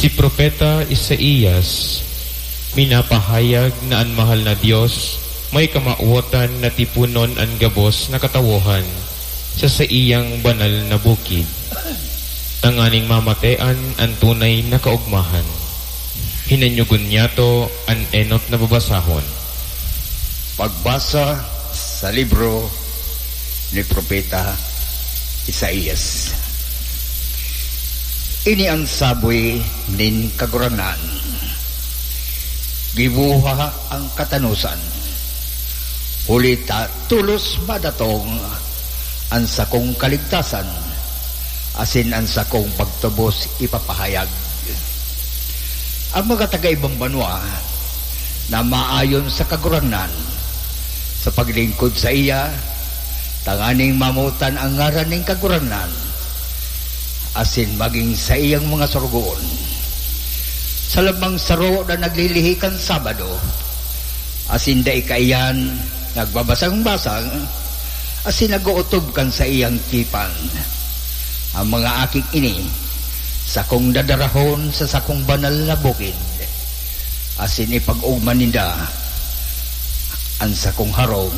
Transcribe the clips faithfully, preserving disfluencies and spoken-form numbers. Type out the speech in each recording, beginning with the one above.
Si Propeta Isaias minapahayag na an mahal na Dios may kamawotan na tiponon an gabos na katawohan sa saiyang banal na bukid, tanganing mamatean an tunay na kaogmahan. Hinanyogon niyato an enot na babasahon. Pagbasa sa libro ni Propeta Isaias. Ini an sabi nin Kagurangnan: Giboha an katanosan, huli ta tolos madatong an sakong kaligtasan, asin an sakong pagtubos ipapahayag. Ang mga taga-ibang banwa na maayon sa Kagurangnan, sa paglingkod saiya, tanganing mamotan an ngaran nin Kagurangnan, asin magin saiyang mga sorogoon. Sa labang saro na naglilihi kan Sabado, asin dai kaiyan nagbabasang-basang, asin nag-ootob kan saiyang tipan. Ang mga aking ini, sakong dadarahon sa sakong banal na bukid, asin ipag-ogma ninda an sakong harong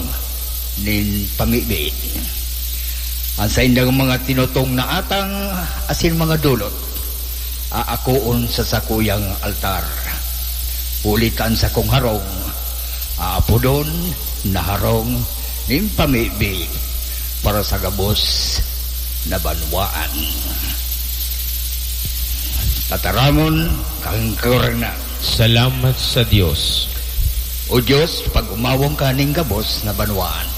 nin pamibi. An saindang mga tinutong na atang asin mga dolot aakoon sa sakuyang altar, huli ta an sakong harong aapodon na harong nin pamibi para sa gabos na banwaan. Tataramon kan Kagurangnan. Salamat sa Dios. O Dios, pag-umawon ka nin gabos na banwaan.